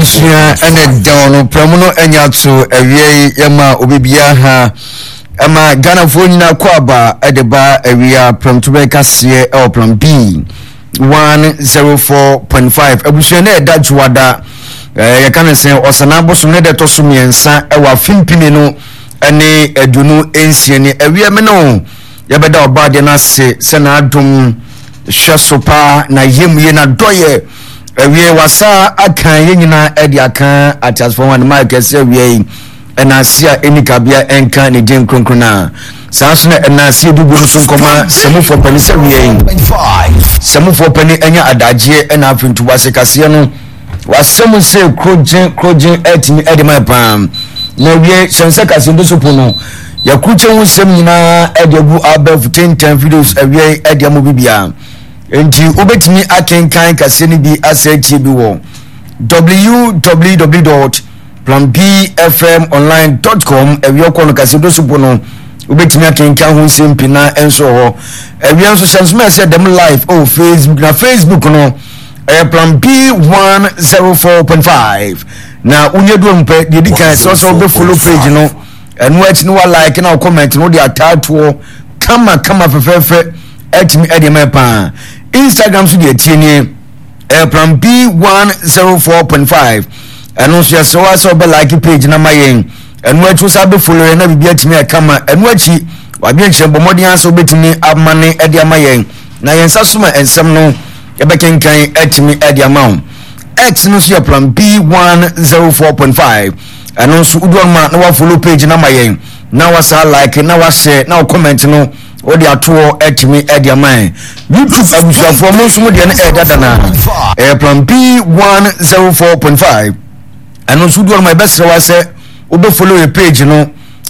Abusua ɛna dɛw no prɛmo no anya ato awia yi yɛma obi biara ha ɛma Ghanafoɔ nyinaa kɔ aba ɛde ba awia prɛmto bɛn kaseɛ ɛwɔ plan B 104.5 abusua no ɛda dwoada ɛɛ yɛka no sɛ ɔsana abosom ne dɛ ɛtɔ so mmiɛnsa ɛwɔ afe mpini no ɛne 26 ne awia me no Yɛbɛda Ɔbɔadeɛ no ase sɛ n'adom hwɛ so paa, n'ayamye, n'adɔyɛ. Awiei wasa aka yɛn nyinaa ɛde aka ateasefoɔ ho anima kɛse awiei ɛnaase a ɛni kabea ɛnka ne din kronkron a saa nso na ɛnaase edugu no so nkɔma sɛmufoɔ panin sɛ awiei sɛmufoɔ panin ɛnya adagyeɛ ɛna afei ntoboase kaseɛ no W'asɛm se krogyen krogyen atumi de ma paa. Na wie hyɛn sɛ kasembo so po no. Yɛkrukyɛ ho nsɛm nyinaa de agu abɛɛfo tentan videos awiei de ama obi biara. Enti wobɛtumi akenkan kaseɛ no bi asɛ atie bi wɔ www.planbfmonline.com awia kɔ no kaseɛ so po no wobɛtumi akenkan ho nsɛm pii na nso wɔ hɔ. Awia nso hyɛ nsoma ɛsɛ dɛm live oh Facebook na Facebook no ɛyɛ plan b 104.5 na wonyɛ du mpɛ deɛ di kan sɛ sɛ wobɛ follow page no ɛno akyi no wa like na wo comment no wode ataatoɔ kama kama fɛfɛɛfɛ atumi ɛde ma paa instagram so deɛ tie nie ɛyɛ plan b 104.5 ɛno nso yɛsrɛ wa sɛ wobɛ like page na ma yɛn ɛno akyi wo sa bɛ follow yɛn na biribi atumi ɛkama ɛno akyi wadwenkyerɛ bɔ mmɔden asɛ wobɛtumi amane ɛde ama yɛn na yɛn nsa so ma nsɛm no yɛbɛkenkan atumi de ama wo x no nso yɛ plan b 104.5 ɛno nso wodu ɔno ma na wafollow page no ama yɛn na wasa like na wahyɛ na comment no wode atoɔ atumi de ama yɛn youtube abusuafoɔ mo nso mo deɛ no ɛɛdada na ɛyɛ plan b 104.5 ɛno nso wodu ɔno ma yɛbɛsrɛ wa sɛ wobɛfollow yɛ page no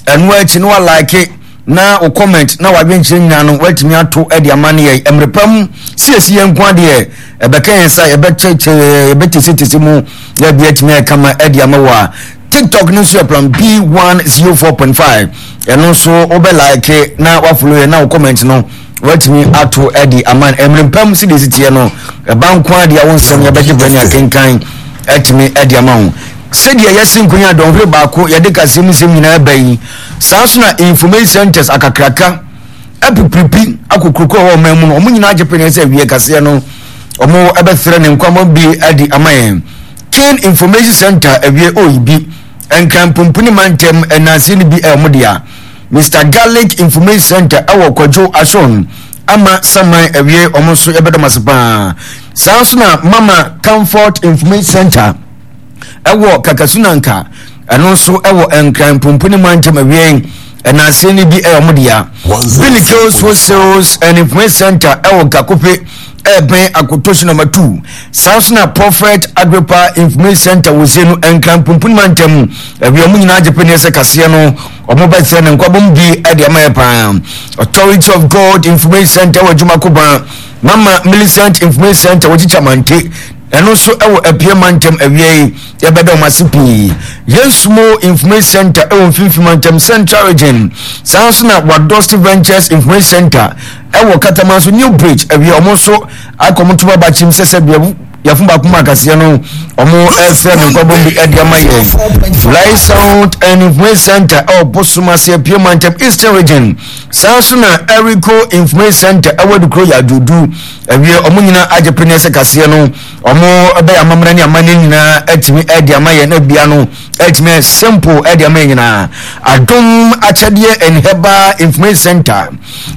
ɛno akyi na walike na wo comment na wadwenkyerɛ nyinaa no watumi ato de ama ne yɛn mmerɛ pa mu siesie yɛn nko adeɛ ɛbɛka yɛn sa yɛbɛkyɛkyɛ yɛbɛtesetese mu na ebi atumi ayɛ kama de ama wɔ a tiktok no nso yɛ plan b 104.5 ɛno nso wobɛ like na wafollow yɛn na wo comment no watumi ato de ama mmerɛ pa mu sɛdeɛ ɛsi teɛ no ɛba nko adeɛ wo nsɛm yɛbɛgye berɛ ne akenkan atumi de ama wo sɛdeɛ yɛsi nkonya dɔnhwere baako yɛde kaseɛ mu nsɛm nyinaa ba yi Saa nso na information centers akakraka apipiripi akokuroko wɔ ɔman mu no, wɔn nyinaa agye pene sɛ awie kaseɛ no wɔn ɛbɛfrɛ ne nkwamɔ bi adi ama yɛn. King Information Center awie oyi bi Nkran Pumpuni mantam ɛnanse no bi ɛwɔ mo dea. Mr Garlic Information Center ɛwɔ Kwadwo Ashon ama Saman awie wɔn nso yɛbɛdɔm ase paa. Saa nso na Mama Comfort Information Center ɛwɔ Kakasunanka ɛno nso ɛwɔ Nkran Pumpuni mantam awiei ɛnanse no bi ɛyɛ ɔmo dea. Billy Girls Wholesales and Information Center ɛwɔ Gakope ɛbɛn Akotosi nɔma 2. Saa nso na Prophet Agrippa Information Center wɔ Zenu Nkran Pumpuni mantam awia ɔmo nyinaa gye pene sɛ kaseɛ no ɔmo bɛkyerɛ ne nkwabom bi ɛde ama yɛ paa. Authority of God Information Center wɔ Adwumakoba Mama Millicent Information Center wɔ Kyikya Ɛno nso wɔ Apia mantam awia yi yɛbɛda wɔn ase pii. Yɛn Sumo Information Center wɔ Mfimfini mantam Central Region. Saa nso na Wadosi Ventures Information Center wɔ Kataman so New Bridge awia wɔn nso akɔ wɔn ntoma bakyim sɛ sɛ bia yɛfo baako mu akaseɛ no wɔn ɛfrɛ no nkɔbɔm bi ɛde ama yɛn. Light Sound and Information Center ɛwɔ Bosomase Apia mantam Eastern Region. Saa nso na Erico Information Center ɛwɔ Adukuro yɛ Aduodu. Awie wɔn nyinaa agye pene sɛ kaseɛ no wɔn bɛyɛ amammerɛ ne amanneɛ nyinaa atumi ɛde ama yɛn na bia no atumi ayɛ simple ɛde ama yɛn nyinaa. Adom akyɛdeɛ and herbal information center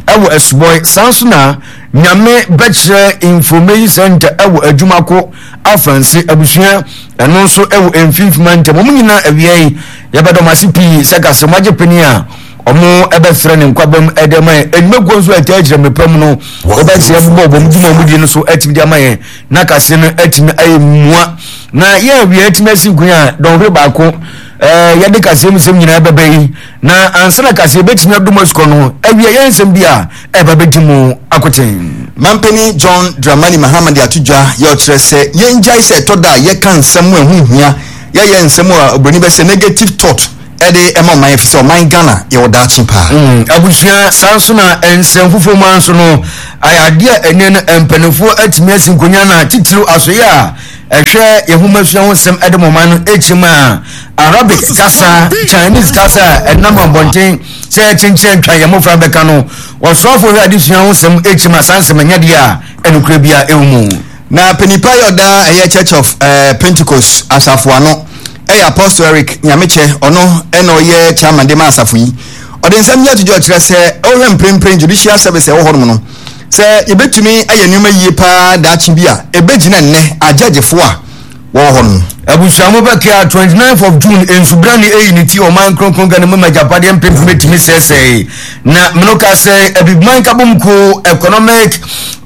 ɛwɔ Asubɔe saa nso na Nyame bɛkyerɛ information center ɛwɔ Adwumako Afranse abusua ɛno nso ɛwɔ mfimfini mantam wɔn nyinaa awia yi yɛbɛdɔm ase pii sɛ kaseɛ wɔn agye pene a wɔbɛfrɛ ne nkwaba mu de ama yɛn nnwumakuo nso a ɛtaa akyerɛ mmepa mu no wɔbɛkyerɛ bobɔ wɔn dwuma wɔn die no so atumi de ama yɛn na kase no atumi ayɛ mua na yɛn awia atumi asi nkun a dɔnhwere baako ɛɛ yɛde kaseɛ mu nsɛm nyinaa bɛbɛ yi na ansa na kaseɛ bɛtumi adum asukɔ no awia yɛn nsɛm bi a ɛba bɛdi mu akoten. Mampanin John Dramani Mahama de ato dwa yɛ ɔkyerɛ sɛ yɛngyae sɛ ɛtɔ da a yɛka nsɛm a ɛho nhia, yɛyɛ nsɛm a obroni bɛsɛ negative thought de ma ɔman efisɛ ɔman Ghana yɛwɔ daakye paa. Mm, abusua saa nso na nsɛm foforɔ mu nso no ayɛ adeɛ a ɛnɛ no mpanimfoɔ atumi asi nkonnwa na titiriw asoyɛ a ɛhwɛ yɛn nhomasua ho nsɛm de ma ɔman no kyerɛ mu a, Arabic kasa, Chinese kasa a ɛnam abɔnten sɛ kyenkyen atwa yɛn mmofra bɛka no, ɔsoafo hwɛ adesua ho nsɛm kyerɛ mu a saa nsɛm ɛnyɛ deɛ a ɛnokorɛ biara ɛwɔ mu. Na panin pa yɛ ɔda ɛyɛ Church of eh, Pentecost asafo ano ɛyɛ Apostle Eric Nyamekyɛ, ɔno ɛna ɔyɛ chairman de ma asafo yi. Ɔde nsɛm yi ato dwa ɔkyerɛ sɛ ɔhwɛ mprempren judicial service ɛwɔ hɔnom no sɛ yɛbɛtumi ayɛ nneɛma yie paa daakye bi a ɛbɛgyina nnɛ agyɛgyefoɔ a wɔwɔ hɔ no. Abusua mo bɛkea 29th of June nsubrane eyi ne ti ɔman kronkron Ghana mu ma agyapadeɛ mpempem etumi sɛɛsɛe na meno ka sɛ Abibiman Nkabom Kuo Economic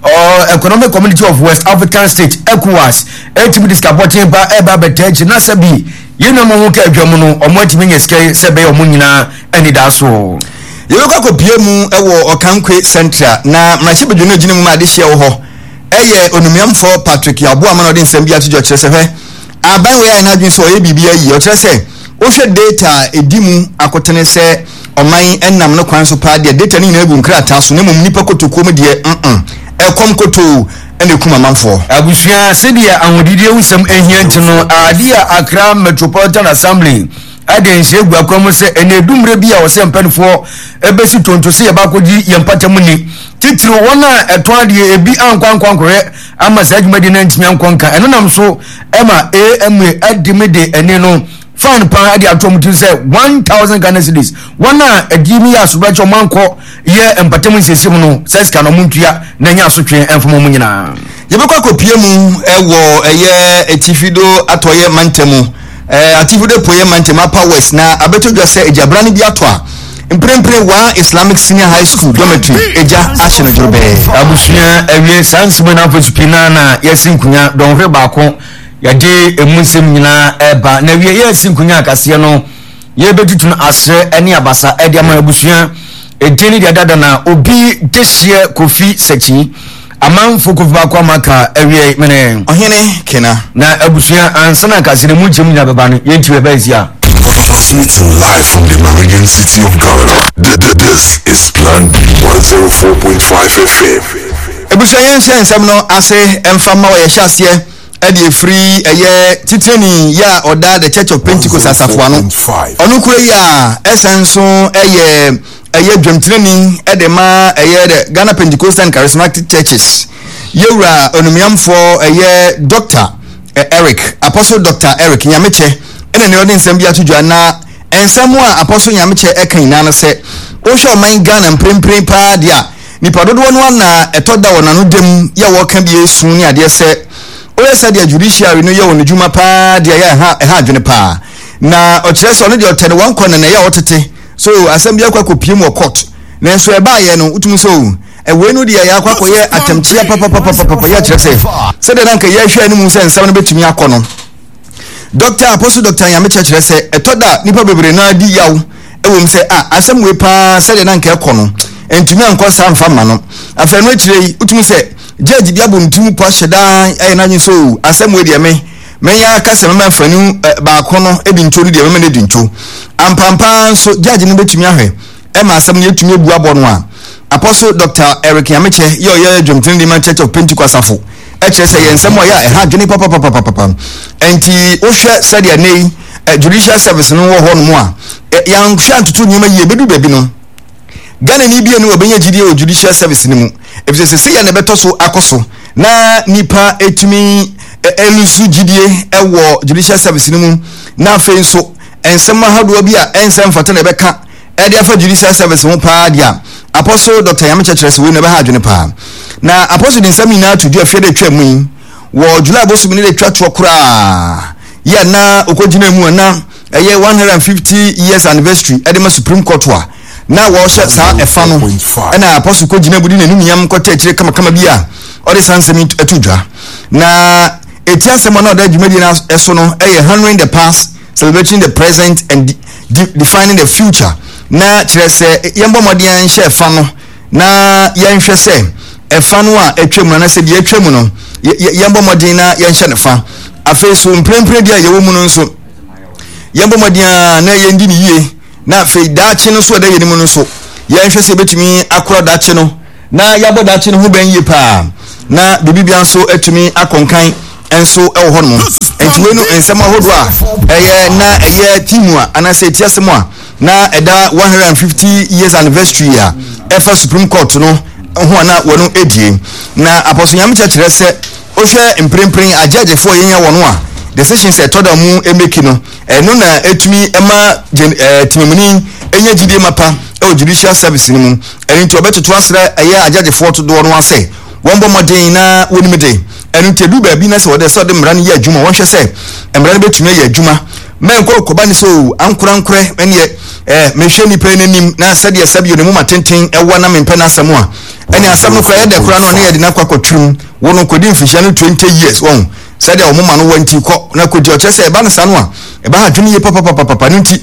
uh, Economic Community of West African States ECOWAS etumi de sika pɔten pa ɛba abɛtaa akyi na sɛ bi yɛn nuanom ho ka adwa mu no ɔmo atumi nya sika yi sɛ ɛbɛyɛ ɔmo nyinaa anidasoɔ. Yɛbɛkɔ akɔpue mu wɔ Ɔkankwe Central na mmarahyɛbadwa no a ɛgyina mu ma adehyeɛ wɔ hɔ yɛ Onumiamfoɔ Patrick Yaw Boamah na ɔde nsɛm bi ato dwa ɔkyerɛ sɛ hwɛ aban wei ayɛ n'adwene sɛ ɔyɛ biribi ayi ɔkyerɛ sɛ wohwɛ data a ɛdi mu akotene sɛ ɔman nam no kwan so paa deɛ data no nyinaa gu nkrataa so na mmom nnipa kotokuo mu deɛ mm ɛkɔm kotoo ɛna ɛkum amanfoɔ. Abusua, sɛdeɛ ahodidie ho nsɛm hia nti no, adeɛ a Accra Metropolitan Assembly de nhyɛ gu akwan mu sɛ ɛna edu mmerɛ bi a ɔsɛ mpanimfoɔ ɛbɛsi tonto sɛ yɛba akɔgye yɛn mpata mu ni titiriw wɔn a ɛtɔn adeɛ ebi ankɔ ankɔ ankɔhwɛ ama saa dwumadi no antumi ankɔ nka ɛno nam so ɛma AMA ɛde me de ɛne no fine paa ɛde ato wɔn ti sɛ 1000 Ghana cedis wɔn a ɛdi mi yɛ asobɛkyɛ wɔn ankɔ yɛ mpata mu nsiesie mu no sɛ sika no wɔn ntua na ɛnyɛ asotwe ɛmfama wɔn nyinaa. Yɛbɛkɔ akɔpie mu ɛwɔ ɛyɛ atifido atɔeɛ mantamu Eh, Atifi Apueɛ Mantam, Upper West, na abɛtɔ dwa sɛ egyabrane bi atɔ a mprempren Waa Islamic Senior High School dormitory egya ahye no dworobɛɛ. Abusua awie saa nsɛm no afei pii naa na yɛasi nkonya dɔnhwere baako yɛde emu nsɛm nyinaa ɛba na awie yɛasi nkonya akaseɛ no yɛbɛtutu no asrɛ ne abasa ɛde ama abusua edin ne deɛ dada na obi dehyeɛ Kofi Sakyi Amanfo kofi baako ama ka awiei mene. Ɔhene Kena. Na abusua ansa na nkase no mu nkyɛmu nyinaa bɛba no yɛnti bɛba nsi a. Transmitting live from the Meridian City of Ghana. This is Plan B 104.5 FM. Abusua yɛn hyɛ nsɛm no ase mfa mma wɔ yɛhyɛ aseɛ ɛde efiri ɛyɛ titirani yɛ a ɔda The Church of Pentecost asafo ano ɔno kura yi a ɛsan nso ɛyɛ ɛyɛ dwamtenani de ma ɛyɛ the Ghana Pentecostal and Charismatic Churches yɛwura onumyamfoɔ ɛyɛ Dr. Eric Apostle Dr. Eric Nyamekyɛ ɛna ne ɔde nsɛm bi ato dwa na nsɛm a Apostle Nyamekyɛ ɛka nyinaa no sɛ wohwɛ ɔman Ghana mprempren paa deɛ a nipa dodoɔ no ana ɛtɔ da wɔ n'ano dɛm yɛ wɔka bi esu ne adeɛ sɛ woyɛ sɛdeɛ judiciary no yɛ wɔn adwuma paa deɛ ɛyɛ ɛha ɛha adwene paa na ɔkyerɛ sɛ ɔno deɛ ɔtɛ ne wɔn kɔ na na ɛyɛ ɔtete So asɛm bi akɔ akɔpie mu wɔ court nanso ɛbaayɛ no wotumi sɛ o ɛwei no deɛ yɛakɔ akɔyɛ atɛmkyea papapapapapa yɛ kyerɛ sɛ sɛdeɛ na nka yɛhwɛ anim sɛ nsɛm no bɛtumi akɔ no Dɔkta Apostle Dɔkta Nyamekyɛ kyerɛ sɛ ɛtɔ da nnipa bebree no adi yaw ɛwɔ mu sɛ a asɛm wei paa sɛdeɛ na nka ɛkɔ no ntumi ankɔ saa mfa mma no afei no akyire yi wotumi sɛ judge bi abɔ ne tirim po ahyɛ daa ɛyɛ n'adwene sɛ o asɛm wei deɛ me Mɛyɛ aka sɛ mɛma mfani baako no adi nto no deɛ mɛma no adi nto. Ampampa ara nso, judge no bɛtumi ahwɛ ma asɛm no yɛatumi abu abɔ no a. Apostle Dr. Eric Nyamekyɛ yɛ ɔyɛ dwomtoni de ma Church of Pentecost asafo kyerɛ sɛ yɛ nsɛm a ɔyɛ a ɛha adwene papapapapapa. Ɛnti wohwɛ sɛdeɛ nnɛ yi judicial service no wɔ hɔ nom a, yɛanhwɛ antoto nneɛma yie bɛdu baabi no, Ghanani bi ani wɔbɛnya gyidie wɔ judicial service no mu efisɛ sɛ sɛyɛ na ɛbɛtɔ so akɔ so na nipa etumi elusu gyidie wɔ judicial service no mu na afei nso nsɛm ahodoɔ bi a ɛnsɛ mfata na ɛbɛka ɛde afa judicial service ho paa deɛ a Apostle Dr. Nyamekyɛ kyerɛ sɛ wei na ɛbɛha adwene paa na Apostle de nsɛm nyinaa to dwa fie de atwa mu yi wɔ July bosom ne de twa toɔ koraa yɛ na ɔkɔgyina mu a na ɛyɛ 150 years anniversary ɛde ma Supreme Court a na wɔhyɛ saa ɛfa no ɛna Apostle kɔgyina mu de n'anumnyam kɔtɛ akyire kamakama bi a ɔde saa nsɛm yi to dwa na ɛti asɛm a na ɔda dwumadie no ɛso no ɛyɛ Honoring the Past, Celebrating the Present and de Defining the Future na kyerɛ sɛ yɛmbɔ mmɔden nhyɛ ɛfa no na yɛnhwɛ sɛ ɛfa no a atwa mu anaasɛ deɛ atwa mu no yɛmbɔ mmɔden na yɛnhyɛ no fa afei so mprempren deɛ a yɛwɔ mu no nso yɛmbɔ mmɔden a na yɛndi ne yie na afei daakye no nso ɛda yɛn mu no nso yɛnhwɛ sɛ yɛbɛtumi akora daakye no na yɛabɔ daakye no ho bɛn yie paa na biribi bia nso atumi akɔnkan. nso wɔ hɔnom. Nti wei no nsɛm ahodoɔ a ɛyɛ na ɛyɛ timu a anaasɛ ɛti asɛm a na ɛda 150 years anniversary a ɛfa Supreme Court no ho a na wɔn edie. Na Apostle Nyamekyɛ kyerɛ sɛ wohwɛ mprempren agyɛgyefoɔ a yɛnya wɔn a decisions ɛtɔ da mu emeki no ɛno na ɛtumi ɛma temamuni ɛnya gyidie mapa ɛwɔ judicial service no mu. Ɛno nti ɔbɛtoto asrɛ ɛyɛ agyɛgyefoɔ dodoɔ no asɛ wɔn bɔ mmɔden na wɔnim de. Ɛno nti ɛduru baabi na sɛ wɔde sɛ wɔde mmara no yɛ adwuma wɔnhwɛ sɛ mmara no bɛtumi ayɛ adwuma mɛnkɔ kɔba ne sɛ o ankorankorɛ ɛneɛ ɛɛ mehwɛ nipa yi n'anim na sɛdeɛ sɛbi ne mu ma tenten ɛwɔ na mempɛ n'asɛm a ɛne asɛm no koraa yɛdɛ koraa no ɔne yɛde no akɔ akɔtwirim wo no kɔdi mfirihyia no 20 years wɔn sɛdeɛ wɔn ma no wɔ nti kɔ na kɔdi ɔkyerɛ sɛ ɛba no saa no a ɛba ha adwene yie papapapapa no nti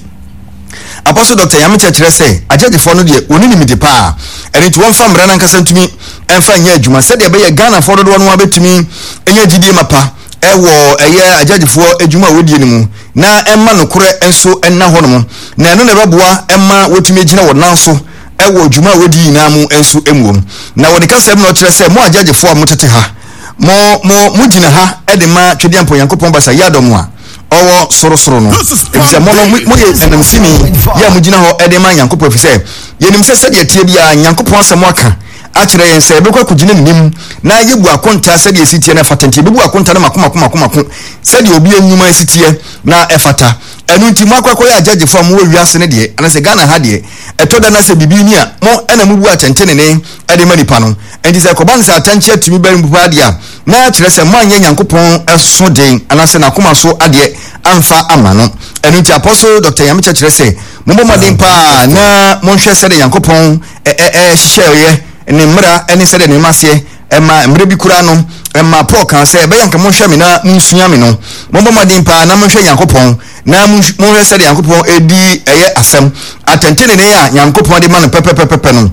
Apostle Doctor Nyamekyɛ kyerɛ sɛ agyɛgyefoɔ no deɛ wɔn nim de paa, ɛno nti wɔmfa mmara no ankasa ntumi mfa nyɛ adwuma sɛdeɛ ɛbɛyɛ Ghanafoɔ dodoɔ no ara bɛtumi anya gyidie mapa ɛwɔ ɛyɛ agyɛgyefoɔ adwuma a wɔdie no mu na ɛma nokorɛ nso nna hɔ nom na ɛno na ɛbɛboa ɛma wɔtumi agyina wɔn nan so ɛwɔ dwuma a wɔdi nyinaa mu nso muom. Na wɔ ne kasa mu na ɔkyerɛ sɛ mo agyɛgyefoɔ a motete ha mo mo mo gyina ha de ma Twedeampɔ Nyankopɔn Basa Yiadom a ɔwɔ sorosoro no, efisɛ mo no, moyɛ ananmusini yɛ a mogyina hɔ de ma Nyankopɔn, efisɛ yɛnim sɛ sɛdeɛ ɛteɛ biara Nyankopɔn asɛm aka akyerɛ yɛn sɛ yɛbɛkɔ akɔgyina n'anim na yɛbu akonta sɛdeɛ ɛsi teɛ na ɛfata nti yɛbɛbu akonta no mako mako mako mako sɛdeɛ obi nnwuma si teɛ na ɛfata. Ɛno nti mo akɔ akɔyɛ agyagyefoɔ a mowɔ wiase no deɛ, anaasɛ Ghana ha deɛ, ɛtɔ da na sɛ biribi ni a, mo na mobu atɛntenenee de ma nipa no. Enti sɛ ɛkɔba no sɛ atɛnkyea tumi ba mu paa deɛ a, na kyerɛ sɛ moanyɛ Nyankopɔn so den anaasɛ n'akoma so adeɛ amfa amma no. Ɛno nti Apostle Doctor Nyamekyɛ kyerɛ sɛ, mommɔ mmɔden paa na monhwɛ sɛdeɛ Nyankopɔn hyehyɛeɛ ne mmara ne sɛdeɛ ne mmaseɛ ɛma mmerɛ bi koraa no ɛma Paul kaa sɛ ɛbɛyɛ anka monhwɛ me na monsua me no. Mommɔ mmɔden paa na monhwɛ Nyankopɔn na monhwɛ sɛdeɛ Nyankopɔn ɛdi ɛyɛ asɛm atɛntenenee a Nyankopɔn de ma no pɛpɛpɛpɛpɛ no.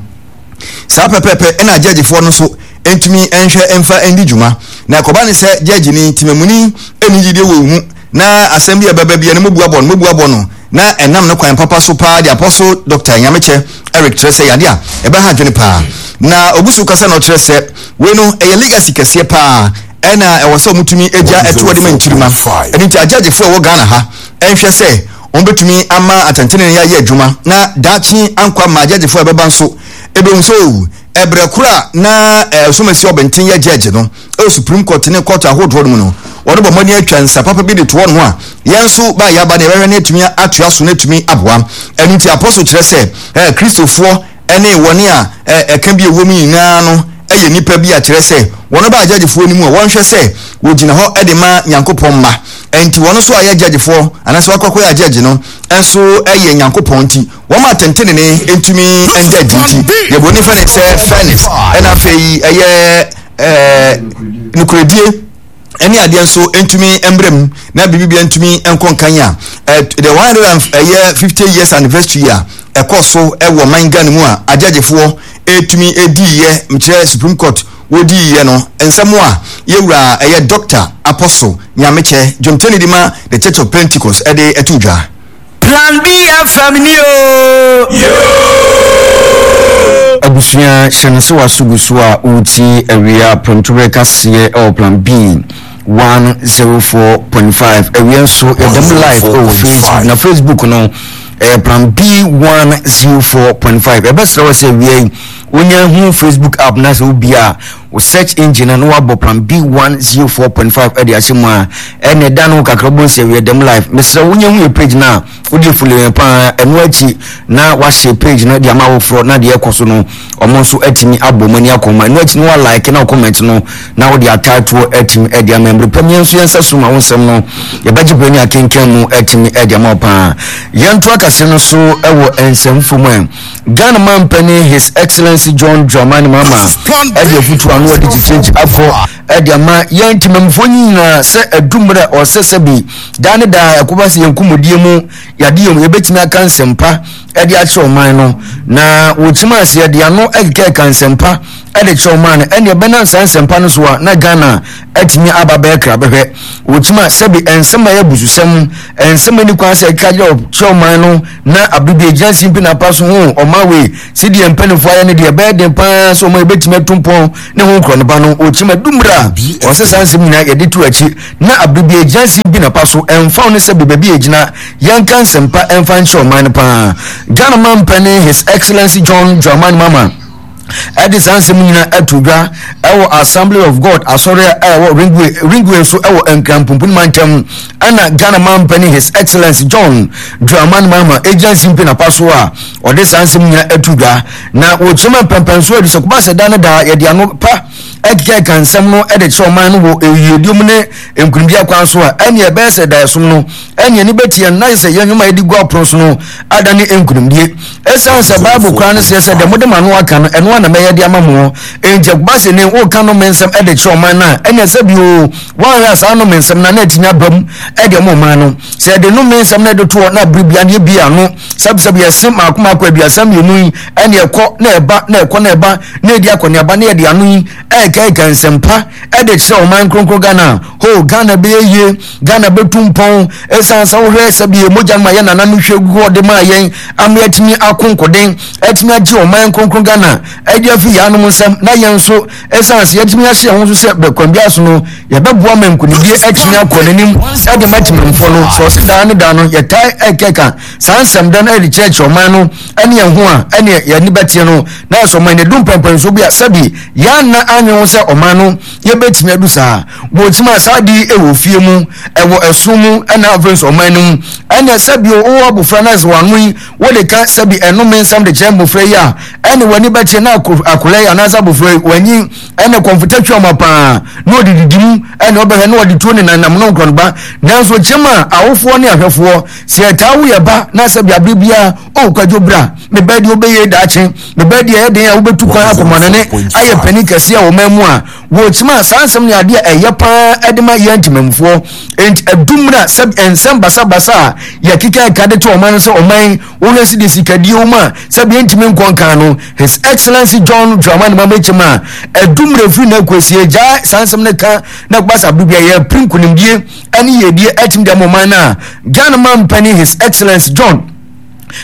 Saa pɛpɛɛpɛ na gyɛgyefoɔ no nso ntumi nhwɛ mfa ndi dwuma. Na ɛkɔba ne sɛ gyɛgyeni, temamuni, nni gyidie wɔ wo mu, na asɛm bi a ɛbɛba biara no mobu abɔ no, mobu abɔ no, na ɛnam ne kwan papa so paa de Apostle Doctor Nyamekyɛ Eric kyerɛ sɛ yadeɛ a ɛbɛha adwene paa. Na ɔgu so kasa na ɔkyerɛ sɛ wei no ɛyɛ legacy kɛseɛ paa ɛna ɛwɔ sɛ wɔtumi gya ɛtoɔ de ma nkyirimma. Ɛno nti agyɛgyefoɔ a ɛwɔ Ghana ha nhwɛ sɛ wɔbɛtumi ama atɛntenenee ayɛ adwuma na daakye ankɔ ama agyɛgyefoɔ a ɛbɛba nso ɛbɛhu sɛ o ɛberɛ koro a na Ɔsomasi Ɔbɛnten yɛ gyɛgye no ɛwɔ Supreme Court ne court ahodoɔ no mu no wɔn bɔ mmɔden atwa nsa papa bi de toɔ no a yɛn nso ba yɛaba no yɛbɛhwɛ no atumi atoa so no atumi aboa. Ɛno nti Apostle kyerɛ sɛ Kristofoɔ ne wɔn a ɛka bi a ɛwɔ mu nyinaa no yɛ nnipa bi a kyerɛ sɛ wɔn ba agyagyefoɔ no mu a wɔnhwɛ sɛ wɔgyina hɔ de ma Nyankopɔn mma. Ɛnti wɔn nso a yɛ agyagyefoɔ anaasɛ wɔakɔ akɔyɛ agyagye no nso yɛ Nyankopɔn nti wɔn atɛntenene ntumi nda adi nti deɛ buroni fɛ ne sɛ fairness ɛna afei ɛyɛ ɛɛ nokorɛdie ɛne adeɛ nso ntumi mbrɛ mu na biribi bia ntumi nkɔ nkan a the 150 years anniversary a ɛkɔ so ɛwɔ man Ghana mu a agyagyefoɔ ɛtumi ɛdiiɛ mekyerɛ Supreme Court wɔdiiɛ no nsɛm a yɛwura ɛyɛ Doctor Apostle Nyamekyɛ dwomtani de ma The Church of Pentecost ɛde ɛto dwa. Plan B FM ni oo. Abusua hyɛ no sɛ w'aso gu so a woretie awia prɛmtoberɛ kaseɛ ɛwɔ Plan B 104.5 awia nso yɛda mu live ɛwɔ Facebook na Facebook no ɛyɛ Plan B 104.5 ɛbɛsrɛ wɔ sɛ awia yi wonya hu Facebook app na sɛ wobia a wo search engine no na wabɔ Plan B 104.5 ɛde ahyɛ mu a ɛna ɛda no kakra wobɛhu sɛ awia dɛm live mesrɛ wonya hu yɛ page no a wode follow yɛn paa ɛno akyi na wahyɛ page no de ama awoforɔ na deɛ ɛkɔ so no ɔmo nso atumi abɔ mu ani akɔ mu ɛno akyi no wa like na comment no na wode ataatoɔ atumi ɛde ama mmerɛ pam yɛn nso yɛn nsa so ma wo nsɛm no yɛbɛgye berɛ ne akenkan mu atumi ɛde ama wo paa yɛnto akase no so ɛwɔ nsɛmfo mu ɛ Ghana mampanin His Excellency John Dramani Mahama ɛde afutuo ano ɛde kyekyekye akɔ ɛde ama yɛn temamufoɔ nyinaa sɛ adu mmerɛ ɔsɛ sɛ bi daa ne daa ɛkɔba sɛ yɛn nkɔmmɔdie mu yadeɛ mu yɛbɛtumi aka nsɛmpa. de akyerɛ ɔman no. Na wɔkyim ase yɛde ano kekɛka nsɛmpa de kyerɛ ɔman no, ɛnneɛ ɛbɛnam saa nsɛmpa no so a na Ghana atumi aba bɛyɛ krabɛhwɛ. Wɔkyim a sɛbi nsɛm a ɛyɛ abususɛm, nsɛm a ɛni kwan sɛ ɛkeka kyerɛ ɔman no na abere bi ɛgyina simpi na apa so ho ɔman wei sɛdeɛ mpanimfoɔ ayɛ no deɛ ɛbɛyɛ den paa sɛ ɔman yɛbɛtumi atu mpɔn ne ho nkorɔ no ba no. Wɔkyim a dummerɛ a wɔsɛ saa nsɛm nyinaa yɛde to akyi na abere bi ɛgyina simpi na apa so ɛmfa wo ne sɛbi baabi a ɛgyina Yɛnka nsɛmpa mfa nkyerɛ ɔman no paa. Ghana Manpanin His Excellency John Dramani Mahama ɛde saa nsɛm nyinaa ato dwa ɛwɔ Assembly of God asɔre a ɛwɔ Ringway Ringway nso ɛwɔ Nkran Pumpuni mantam ɛna Ghana Manpanin His Excellency John Dramani Mahama egyina simpi na pa so a ɔde saa nsɛm nyinaa ato dwa na wɔkyerɛ mu mpɛmpɛnso adi sɛ kɔba sɛ da ne da yɛde ano pa ɛkeka nsɛm no ɛde kyerɛ ɔman no wɔ eyiedie mu ne nkunimdi akwan so a, ɛnneɛ ɛbɛyɛ sɛ daeɛsom no ɛne ani bɛti yɛn na ayɛ sɛ yɛn nnwuma a yɛde gu apono so no adane nkunimdie. Ɛsiane sɛ Bible koraa no seɛ sɛ deɛ mode m'ano aka no, ɛno ara na mɛyɛ de ama mo. Enti ɛkɔba sɛ nnɛ woreka nnome nsɛm de kyerɛ ɔman no a, ɛnneɛ sɛ bio woanhwɛ a saa nnome nsɛm no na atumi aba mu de ama ɔman no. Sɛ yɛde nnome nsɛm no de toɔ na bere biara no yɛbie ano sɛbsɛb yɛse mmaako mmaako 32 yi, ɛnneɛ ɛkɔ na ɛba na ɛkɔ na ɛba na ɛdi akɔneaba na yɛde ano yi ɛrekɛkɛ nsɛmpa de kyerɛ ɔman kronkron Ghana. Ho, Ghana bɛyɛ yie, Ghana bɛtu mpɔn, ɛsiane sɛ wohwɛ sɛ bie mogya no ma yɛn nana no hwɛ gu hɔ de maa yɛn ama yɛatumi ako nkoden, atumi agye ɔman kronkron Ghana ɛde afi yɛn anom nsam, na yɛn nso ɛsiane sɛ yɛatumi ahyɛ yɛn ho so sɛ bɛkwan biara so no yɛbɛboa ma nkonimdie atumi akɔ n'anim ɛde ma temamfoɔ no. Sɛ ɔse daa ne daa no yɛtae ɛkɛka saa nsɛm da no ɛde kyerɛkyerɛ ɔman no ɛne yɛn ho a, ɛne yɛn ani bɛteɛ no na ɛsɛ ɔman no ɛdu mpɛmpɛnsoɔ bi a sɛbi yɛanna anwe ho sɛ ɔman no yɛbɛtumi adu saa. Wɔtumi a saa de wɔ fie mu, ɛwɔ ɛso mu, ɛna afei nso ɔman no mu. Ɛna sɛbi wowɔ abofra na sɛ wano yi wode ka sɛbi ɛnome nsɛm de kyerɛ mmofra yi a, ɛne w'ani bɛkyerɛ na akwadaa yi anaasɛ abofra yi wanyin ɛne kɔmfota twa ɔma paa na ɔde didi mu ɛne ɔbɛhwɛ na ɔde tuo ne nanam no nkorɔ no ba. Nanso kyɛm a awofoɔ ne ahwɛfoɔ sɛ yɛtaa wo yɛ ba na sɛbi abere biara o kwadwo bra me ba deɛ wobɛyɛ daakye Me ba deɛ ɛyɛ den a wobɛtu kwan akɔ manane ayɛ panin kɛseɛ a ɔman mu a wɔkyim a saa nsɛm ne adeɛ a ɛyɛ paa de ma yɛn ntemammufoɔ. Enti ɛdu mmerɛ a sɛ nsɛm basabasa a yɛkeka ɛka de to ɔman no sɛ ɔman wohwɛ si de sikadie wɔ mu a sɛ bia ntumi nkɔ nkan no His Excellency John Dramani Mahama kyim a ɛdu mmerɛ firi na akɔsie gyae saa nsɛm no ka na ɛkɔba sɛ abere bia yɛpere nkonimdie ne yiedie atumi de ama ɔman no a Ghana mampanin His Excellency John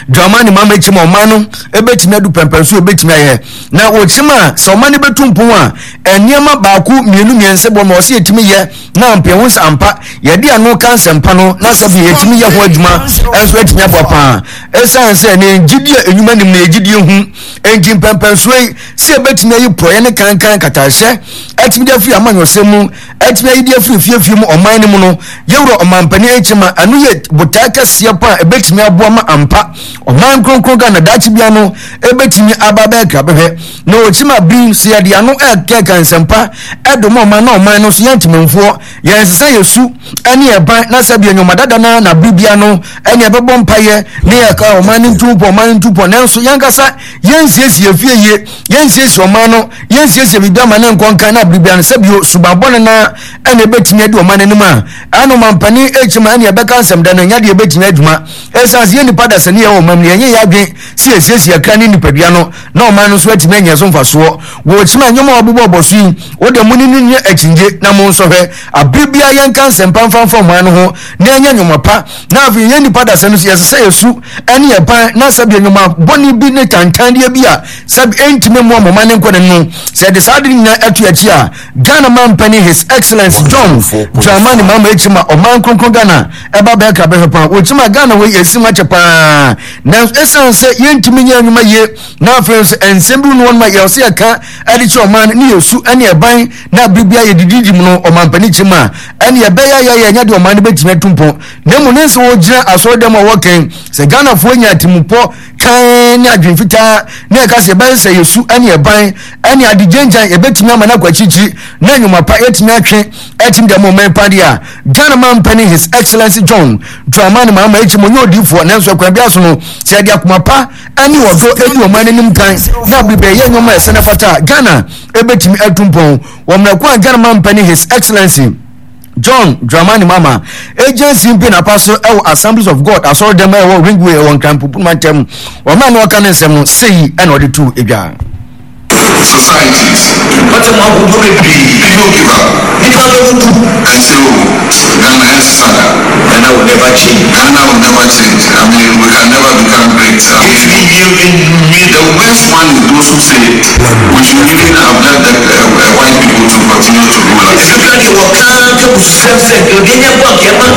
Dramani Mahama kyim a ɔman no bɛtumi adu pɛmpɛn so ɛbɛtumi ayɛ na wɔkyim a sɛ ɔman no bɛtu mpon a nneɛma baako mmienu mmiɛnsa bɔ ma ɔsɛ yɛtumi yɛ na ampɛ ho sɛ ampa yɛde ano ka nsɛmpa no na sɛ bi yɛtumi yɛ ho adwuma nso atumi aboa paa ɛsiane sɛ ne gyidie a enwuma nim na yɛgyidie hu enti mpɛmpɛnsoɔ yi sɛ yɛbɛtumi ayi porɔeɛ ne kankan katahyɛ atumi de afiri amanyɔsɛm mu atumi ayi de afiri fiefie mu ɔman no mu no, yɛwura ɔmampanin Nkyema, ɛno yɛ botae kɛseɛ pa a ɛbɛtumi aboa ma ampa ɔman kronkron Ghana daakye bia no ɛbɛtumi aba bɛyɛ krabɛhwɛ. Na ɔkyima bi sɛ yɛde ano ɛkɛka nsɛmpa ɛdom ɔman na ɔman no so yɛn ntemamfoɔ yɛnsesa yɛ su ɛne ɛban na sɛ bia nnwoma dada no na bere bia no ɛne ɛbɛbɔ mpayɛ ne yɛka ɔman no ntumpɔ ɔman no ntumpɔ nanso yɛnkasa yɛnsiesie fie yie yɛnsiesie ɔman no yɛnsiesie biribi ama ne nkɔ nkan na biribi ano sɛ bio suban bɔne na ɛna ɛbɛtumi adi ɔman anim a ɛna ɔmampanin ɛkyim a ɛna ɛbɛka nsɛm da no ɛnya deɛ ɛbɛtumi adwuma ɛsiane sɛ yɛ nipa dasani yɛ wɔ ɔman mu yɛnyɛ yɛ adwen sɛ yɛsiesie akra ne nipadua no na ɔman no nso atumi anya so mfasoɔ wɔ kyim a nneɛma a wɔbobɔ bɔ so yi wo deɛ mo ne no nyɛ akyingye na mo nsɔhwɛ abere biara yɛnka nsɛmpa mfa mfa ɔman no ho na ɛnyɛ nnwuma pa na afei yɛn nipa dasani nso yɛsɛ sɛ yɛsu ɛne yɛban na sɛdeɛ nnwuma bɔne bi ne tantandeɛ bi a sɛ ɛntumi mmoa mɔma ne nkɔ ne no sɛ ɛde saa ade no nyinaa ɛto akyi a Ghana mampanin His Excellence John Dramani Mahama akyi ma ɔman kronkron Ghana ɛba bɛyɛ krabɛhwɛ paa wɔkyi ma Ghana wei ɛsi mu akyɛ paa nanso ɛsiane sɛ yɛntumi nyɛ nnwuma yie na afei nso nsɛm bi no wɔn ma yɛwɔ sɛ yɛka ɛde kyerɛ ɔman no ne yɛsu ɛne ɛban na bere biara yɛdididi mu no ɔmampanin kyi ma ɛne ɛbɛyɛ yɛyɛ ɛnyɛ deɛ ɔman no bɛtumi atu mpɔn na mmom ne nsɛ wɔgyina asɔre dɛm a wɔkɛn sɛ Ghanafoɔ nya atimupɔ kann ne adwene fitaa na ɛka sɛ yɛbɛyɛ sɛ yɛsu ne ɛban ne ade gyangyan yɛbɛtumi ama no akɔ akyirikyiri na nnwuma pa yɛtumi atwe atumi de ama ɔman pa deɛ a Ghana man panin His Excellency John Dramani Mahama akyi mo nyɛ odiifoɔ nanso ɛkwan biara so no sɛ yɛde akoma pa ne ɔdɔ adi ɔman no anim kan na abere yɛ nneɛma a ɛsɛ na fata a Ghana ɛbɛtumi atu mpɔn wɔ mmerɛ ko a Ghana man panin His Excellency. John Dramani Mahama egyina simpi na apa so ɛwɔ Assemblies of God asɔre dɛm ɛwɔ Ringway ɛwɔ Nkran Pumpuni mantam. Ɔmaa na ɔka ne nsɛm no sei ɛna ɔde too edwa. Societies. Mpɔtam ahodoɔ bebree. People give up. Nnipa bɛbubu. And say, oh, Ghana ɛnsesa da. Ghana will never change. Ghana will never change. I mean, we can never become great. I mean, Yɛntumi nwie. the worst one is those who say we should even have let the white people to continue to rule us. Ebi kura deɛ wɔka ka bususɛm sɛ nka obi anya bɔ anka ɛma.